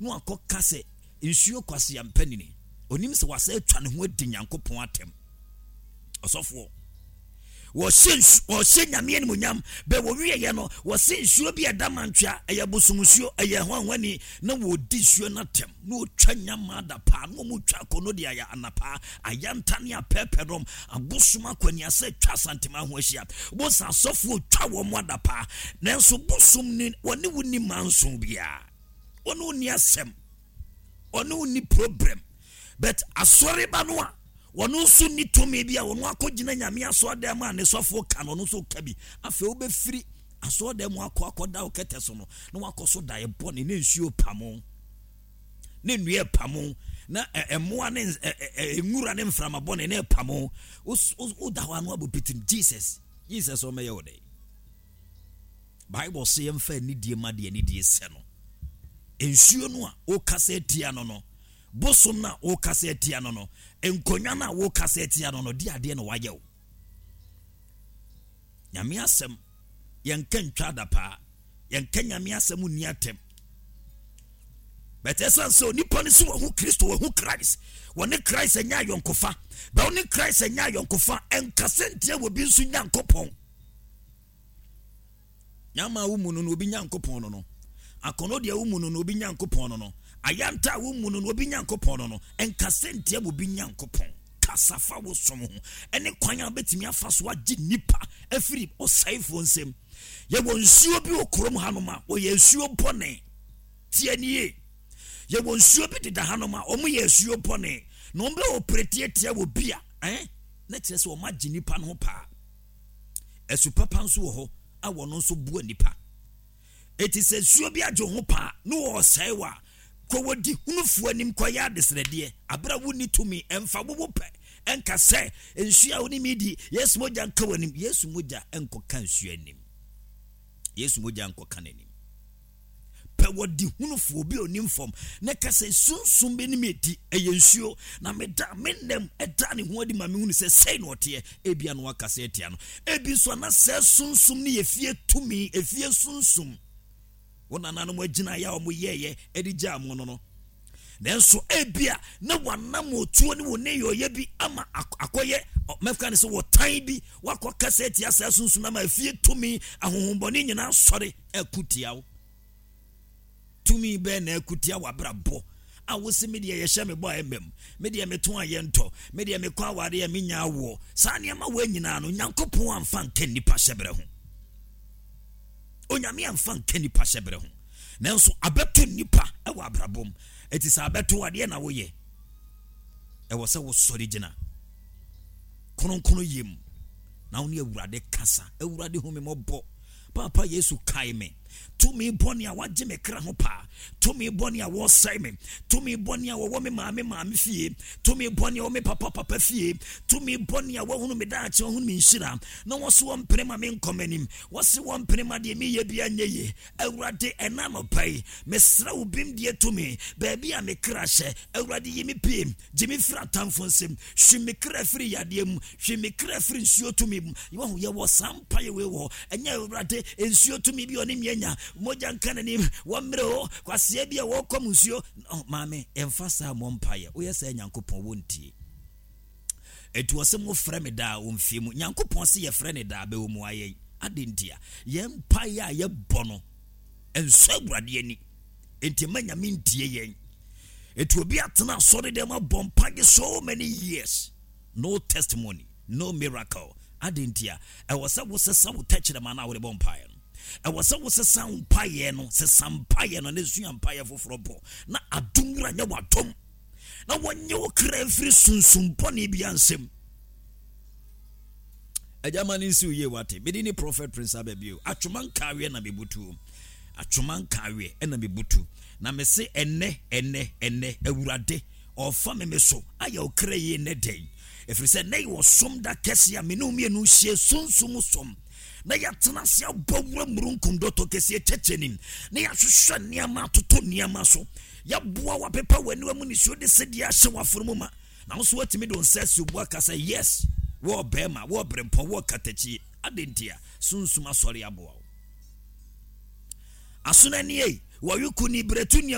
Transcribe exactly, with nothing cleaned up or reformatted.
Na wakɔka sɛ nsuo kwasea mpanini. Onim sɛ wasa atwa ne ho adi Nyankopɔn atɛm. Ɔsɔfoɔ, wɔhyɛ nsu wɔhyɛ Nyame animuonyam bɛ wɔwieɛ no, wɔse nsuo bi a ɛda mantwea, ɛyɛ bosom nsuo, ɛyɛ hwanhwani, na wɔdi nsuo no atɛm, na wɔtwa nyama adapaa, na wɔtwa akɔnɔ de ayɛ anapaa ayanta ne apɛɛpɛ dɔm abosom akwaniasɛ twa Asantema ho ahyia. Bosa asɔfoɔ twa wɔn mo adapaa, nanso bosom ni wɔne wo ni manso biara, wɔne wo ni asɛm, ɔne wo ni problem, but asɔreba no a wɔn nso ni tumi bi a wɔn akɔgyina Nyame asɔredan mu a ne sɔfoɔ ka no, ɔno nso ka bi. Afei wobɛfiri asɔredan mu akɔ akɔda wo kɛtɛ so no, na wakɔ so da ɛbɔ ne ne nsuo pamo ne nnua pamo na ɛmoa ne nwura ne mframa bɔne ne pamo. Woda hɔ ano abɔ pitim, Jesus, Jesus, ɔmɛyɛ wo dɛ. Bible sɛ yɛmfa anidie ma deɛ anidie sɛ no. Nsuo no a wokasa atia no no bosom no a wokasa atia no no nkonnwa no a wokasa atia no no di adeɛ na wayɛ wo. Nyame asɛm, yɛnka ntwa adapaa, yɛnka Nyame asɛm nni atɛm. Bɛtɛ sɛ sɛ onipa no sɛ wahu Kristo, wahu Christ, wɔne Christ anya ayɔnkofa, bɛ wo ne Christ anya ayɔnkofa, ɛnkasɛ ntia wɔ bi nso Nyankopɔn. Nyama wo mu no no obi Nyankopɔn no no akɔnɔ deɛ wo mu no no obi Nyankopɔn no no ayanta a wo mu no no obi Nyankopɔn no no ɛnkasɛ ntia wɔ bi Nyankopɔn. Kasa fa wo som ho ɛne kwan a wobɛtumi afa so agye nnipa afiri ɔsɛefoɔ nsam. Yɛwɔ nsuo bi wɔ kurom hanom a wɔyɛ nsuo bɔne. Tie nie, yɛwɔ nsuo bi deda hanom a wɔn yɛ nsuo bɔne, na wɔn bɛ wɔ tietia wɔ bi a ɛn na kyerɛ sɛ wɔn agye nipa no ho paa. Ɛsu papa nso wɔ hɔ a wɔn nso boa nipa. Eti sɛ nsuo bi agye ho paa na wɔresɛe wɔ a, kɔ wɔdi hunufoɔ anim kɔyɛ adesrɛdeɛ abere a wonni tumi. Ɛmfa wowo pɛ ɛnka sɛ nsuo a wɔne mi di, Yesu mogya nka wɔ anim. Yesu mogya nkɔka nsuo anim, Yesu mogya nkɔka n'anim. Pɛ wɔdi hunufoɔ bi a onim fam na ka sɛ sunsum bi ne mi di, ɛyɛ nsuo na meda me nam ɛda ne ho adi ma me hunu sɛ sɛi na ɔteɛ. Ebia no wakasa atia no, ebi nso ana sɛ sunsum ne yɛ fie tumi, efie sunsum wɔn nananom agyina yɛ a wɔn yɛɛyɛ ɛde gyaa mo no no nanso ebia na wanam otuo ne wɔn ne yɛ bi ama akɔyɛ mɛka ne sɛ wɔtan bi wakɔ kasa atia saa sunsum ama efie tumi ahohombɔne nyinaa sɔre ɛko tia wo. Tumi bɛɛ na ɛko tia w'abrabɔ a wosi me deɛ yɛhyɛ me bɔ a ɛmɛm, me deɛ meto a yɛntɔ, me deɛ mekɔ aware a menya awoɔ. Saa nneɛma wɔ nyinaa no, Nyankopɔn amfa nka nnipa hyɛberɛ ho. Onyame amfa nka nnipa hyɛberɛ ho, nanso abɛto nnipa ɛwɔ abrabɔ mu. Ɛti sɛ abɛto adeɛ na woyɛ, ɛwɔ sɛ wosɔre gyina kronkron yie mu na wo ne Awurade kasa. Awurade, hu me mmɔbɔ. Papa Yesu, kae me. Tumi bɔne a wagye me kra ho paa, tumi bɔne a wɔsɛe me, tumi bɔne a wɔwɔ me maame maame fie, tumi bɔne a wɔwɔ me papa papa fie, tumi bɔne a wɔhunu me daakye, wɔhunu me nhyira na wɔso wɔmpene ma me nkɔ m'anim, wɔse wɔmpene ma deɛ meyɛ bia nyɛ yie. Awurade, ɛna anɔpa yi mesrɛ wo bim deɛ tumi baabi a me kra hyɛ. Awurade, yi me pie, gye me firi atamfo nsam, hwe me kra firi yadeɛ mu, hwe me kra firi nsuo tumi mu. Wɔho yɛwɔ saa mpaeɛ wei wɔ hɔ. Ɛnyɛ Awurade, nsuo tumi bi ɔne mianya mogya nka n'anim, wɔmmerɛ o kwaseɛ bi a wɔkɔ mu nsuo. Maame, ɛmfa saa mmɔ mpaeɛ. Woyɛ sɛ Nyankopɔn wɔntie. Ɛti wɔ sɛ mofrɛ me daa wɔ mfie mu. Nyankopɔn sɛ yɛfrɛ ne daa bɛwɔ mu ayɛ ade ntia yɛn mpaeɛ a yɛbɔ no ɛnsɔ Awurade ani, enti ma Nyame ntie yɛn. Ɛti obi atena asɔre dɛm abɔ mpaeɛ so many years, no testimony, no miracle. Ade ntia ɛwɔ sɛ wosesa wo tɛkyerɛma no a wode bɔ mpaeɛ no. Ɛwɔ sɛ wosesa wo mpaeɛ no, sesa mpaeɛ no na sua mpaeɛ foforɔ bɔ na adom wura nyɛ w'adom na wɔnyɛ wo kra mfiri sunsum bɔne bi ansɛm. Agyama no nsi wo yie. Wate mede ne Prophet Prince Ababio atwoma nkaaweɛ na mebutuo, atwoma nkaaweɛ ɛna mebutu na mese ɛnɛ ɛnɛ ɛnɛ Awurade ɔfa me me so ayɛ wo kra yie nnɛ dɛn, ɛfiri sɛ nnɛ yɛ ɔsom da kɛse a me ne wo mmienu hyia sunsum som na yɛatena ase abɔ wura murunkum dɔtɔ kɛseɛ kyɛkyɛ nim na yɛahwehwɛ nneɛma atoto nneɛma so, yɛboa wapepa w'aniwa mu nisuo de sɛdeɛ ahyɛ w'afono mu ma na wo nso woatumi de wo nsa asi wo bo aka sɛ yes, wɔɔ bɛrima, wɔɔ berempɔn, wɔɔ katakyie. Ade nti a sunsum asɔre aboa wo asono ani ei wɔwe ku ni berɛtu nea.